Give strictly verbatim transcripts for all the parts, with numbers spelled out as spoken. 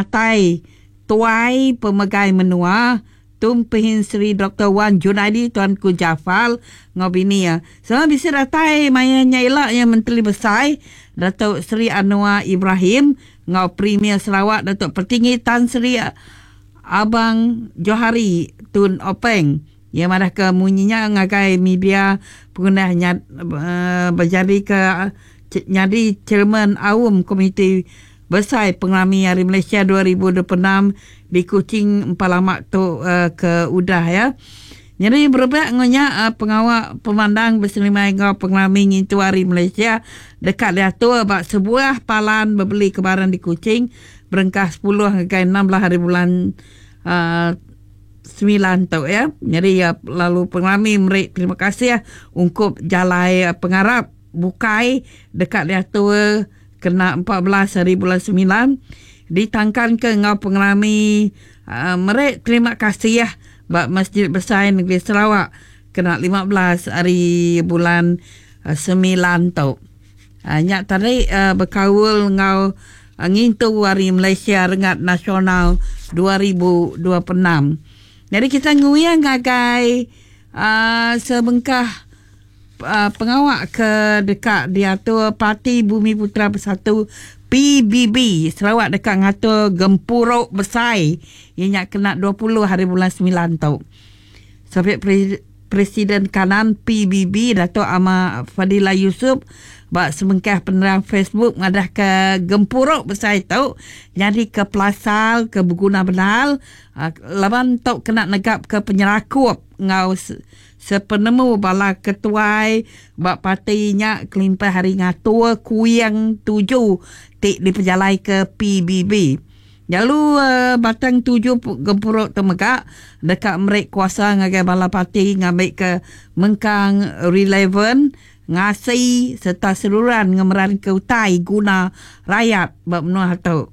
penatai tuai pemegai menua Tun Pehin Sri Doktor Wan Junaidi Tuanku Jaafar ngau bini ya. Sama bisi datai maya nya ila yang Menteri Besai Datuk Seri Anwar Ibrahim ngau Premier Sarawak Datuk Patinggi Tan Sri Abang Johari Tun Openg. Yang madah ke munyinya ngagai media pengguna nyad, uh, berjadi ke nyadi chairman Aum Komiti Besai Pengerami Hari Malaysia dua ribu dua puluh enam di Kuching empat lama tu uh, ke udah ya. Jadi berebak ngonya uh, pengawak pemandang berselimai ngau pengerami ngintu Hari Malaysia dekat diatur bak sebuah palan berbeli kebaran di Kuching berengkah sepuluh hingga enam belas hari bulan uh, sembilan tu ya. Jadi uh, lalu pengerami meri terima kasih ya, ungkup jalai uh, pengarap bukai dekat diatur kena empat belas hari bulan sembilan ditangkan ke ngau pengerami uh, meri terima kasih ya bak Masjid Besar Negeri Sarawak kena lima belas hari bulan uh, sembilan tu. Uh, nyak tadi uh, berkaul ngau uh, ngintu Hari Malaysia Rengat Nasional dua ribu dua puluh enam. Jadi kita nguyang ngagai uh, sebengkah Uh, pengawak ke dekat diatur Parti Bumi Putra Bersatu P B B Sarawak dekat ngatur gempuruk besar yang nak kena dua puluh hari bulan sembilan tu. Sampai pre- Presiden Kanan P B B Datuk Amar Fadillah Yusof bak semengkah penerang Facebook ngadah ke gempuruk besar itu jadi ke pelasal ke berguna benar uh, laban tok kena negap ke penyerakup ngau se- sepenemu bala ketuai bak partinya kelimpah hari ngatur kuyang tujuh tik diperjalai ke P B B. Lalu uh, batang tujuh gempuruk temegak dekat merek kuasa ngagai bala parti ngambil ke mengkang relevan ngasi serta seluruhan ngemeran ke utai guna rakyat bak menua tu.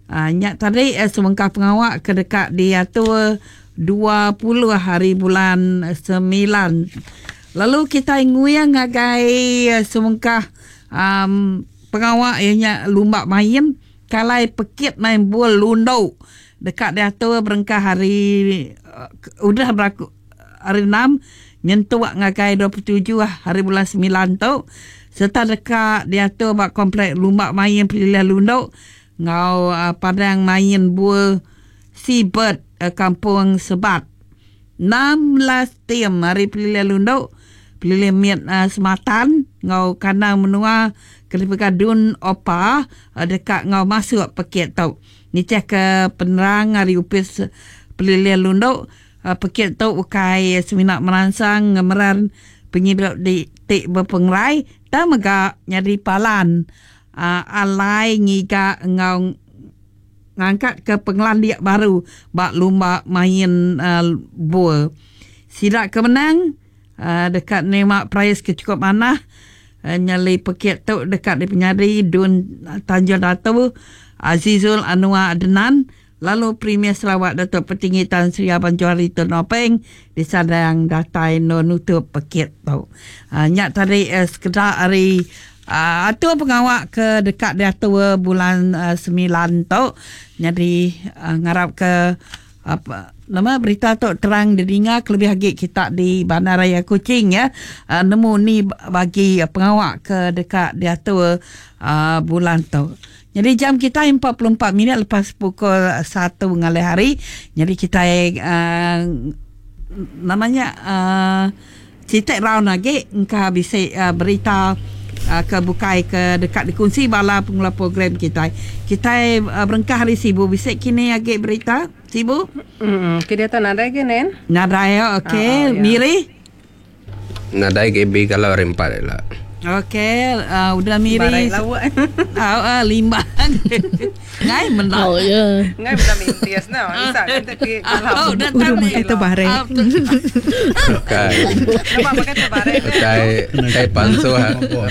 Uh, nyak tadi eh, semengkah pengawak ke dekat diatur dua puluh hari bulan sembilan. Lalu kita nguyang ngagai semengkah um, pengawak ianya lumba main kalai pekit main bol lundo dekat diatur berengkah hari uh, udah berlaku hari enam nyentuk ngagai dua puluh tujuh hari bulan sembilan tu serta dekat diatur bak komplek lumba main Pilihan Lundo ngau uh, padang main bol Seabird uh, Kampung Sebat. enam belas tim hari Pilihan Lundo Pilihan Miat uh, Sematan ngau kandang menua kelipika Dun Opa uh, dekat ngau masuk pekit tu. Ni cek ke penerang hari upis Pilihan Lundo uh, pekit tu ukai seminak merangsang ngemeran penghidup di tik berpengerai ta mega nyadi palan uh, alai ngiga ngau ngangkat ke pengelandik baru bak lumba main uh, bol. Sidak kemenang uh, dekat nemak prize ke cukup manah uh, nyali pekit tu dekat di penyari Dun Tanjung Datu Azizul Anwar Adenan lalu Premier Sarawak Datuk Petinggi Tan Sri Abang Johari Tun Openg disadang datai no nutup pekit tu. Uh, nyak tadi uh, sekedar hari Uh, atur pengawak ke dekat diatur bulan uh, sembilan tu. Jadi uh, ngarap ke apa nama berita tu terang didengar kelebih lagi kita di Bandaraya Kuching ya. Uh, nemu ni bagi pengawak ke dekat diatur uh, bulan tu. Jadi jam kita empat puluh empat minit lepas pukul satu ngalih hari. Jadi kita uh, namanya uh, citak round lagi engkau bisa uh, berita Uh, ke bukai ke dekat dikunci bala pengelola program kita. Kita uh, berengkah hari Sibu bisik kini agak berita Sibu. Hmm, kita tak nadai ke nen? Nadai ya, okey. Oh, oh, ya. Miri? Nadai G B kalau hari empat lah. Okey, uh, udah Miri. Barai lawak. Ah, uh, limbang. Ngai menang. Oh ya. Ngai menang mintias nah. Isa kita ke kalau. Udah makan terbarek. Okey. Nama makan terbarek. Tai tai pansuh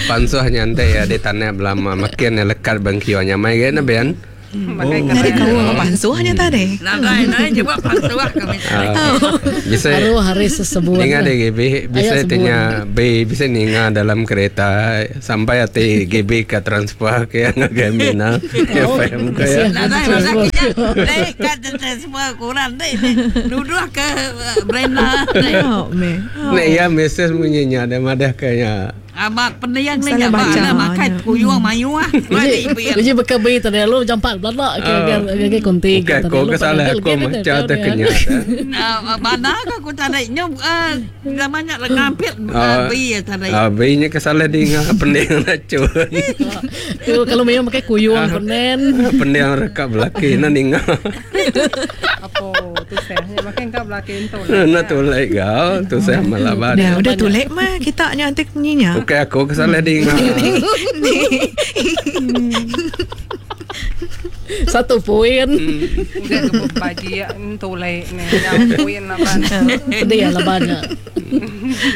pansuh nyantai ya di tanah belama makin lekat bangkio nyamai ke na ben. Makai Dari keren. kau apa pansuhnya tadi? Nadai, nadai jebak pansuh kami. Ah, bisa Baru hari sesebuan. Ninga deh G B bisa Ayat sebulan. tanya B bisa ninga dalam kereta sampai hati G B ke transfer ke yang Mina F M ke ya. Nadai masak kita. Dek kat semua kurang dek. Nuduh ke Brenda. Dek. Oh, me. Nek ya mesej bunyinya ada madah kayaknya. Amat pendiang ni Salah jak baca. mana makan kuyuang mayu ah. Uji, uji bekabi tadi lu jampak belak ke ke ke konti. Bukan aku ke salah aku macam terkenyat. Mana aku tak ada nyu namanya lengampit Ah. bi tadi. Ah, B-nya kesalah di ngah pendiang racun. Kalau memang pakai kuyuang konen. Pendiang rekap belaki na ninga. Apa tu saya makin kau belaki tu. Na tulai gau tu saya malabat. Dah udah tulek mah kita nyantik nyinya. Okey aku kesalah di ngah. Satu poin. Udah ke baji tulai ni. Yang kuin apa. Pedih lah banyak.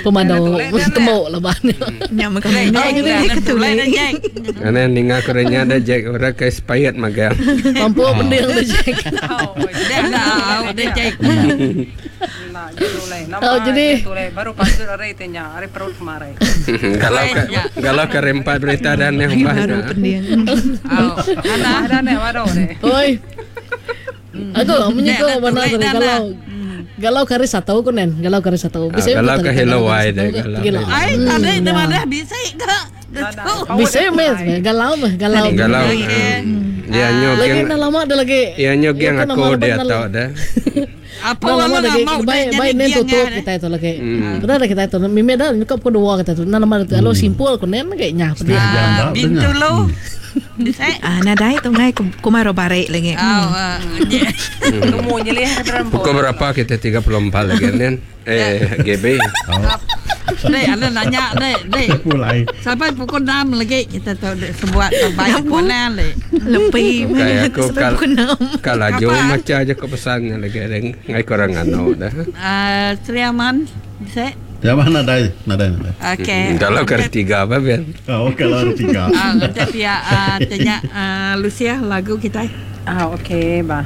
Pemadu temuk lah banyak. Nya makan ni Dek, ketulek. Jack. Karena ninga kurangnya ada Jack orang ke expired magang. Mampu pendiang tu Jack. Dek dah, dek Jack. Nah, tulai. Nama Oh, jadi- tulai baru pasur hari tanya, hari perut kemarin. Kalau ke, kalau ke rempat berita dan yang Baru bah. pendiang. Oh, ada. Ada nih, waduh deh. Oi. Aku menyuka Nek, mana nek, tadi nek, kalau galau kari satu ku nen, galau kari satu. Ah, galau ke hello wai deh, galau. Ai, tadi di mana bisa ke? Bisa mes, galau mah, galau. Galau. Dia Lagi nyogeng. dah lama dah lagi. Dia nyogeng Iya, aku dia tahu dah. Apa Dah lama lalu lagi nak mau baik baik nen tutup kita itu lagi. Benar dah kita itu. Mimi dah nyukap ku dua kita itu. Nah lama itu kalau simpul ku nen kayaknya. Setengah jam dah. Bintu lu. Bisa. Ah, nadai tu ngai kumaro barek lagi. Oh, Temu nyelih ke dalam Pukul berapa kita tiga puluh empat lagi nen? Eh G B. Dek, ada nanya dek, dek. Mulai. Sampai pukul enam lagi kita tahu dek sebuat terbaik mana lek. Lebih Kayak aku sampai kal pukul enam. kalau jauh macam aja ke pesannya lagi ada ngai kurang anu dah. Ah, Sri Aman, bisa? Ya mana nadai, nadai nadai. Okey. Kalau kali tiga apa biar? Oh, kalau ada tiga. Ah, kita pihak ah, tanya ah, Lucia lagu kita. Ah, okey, bah.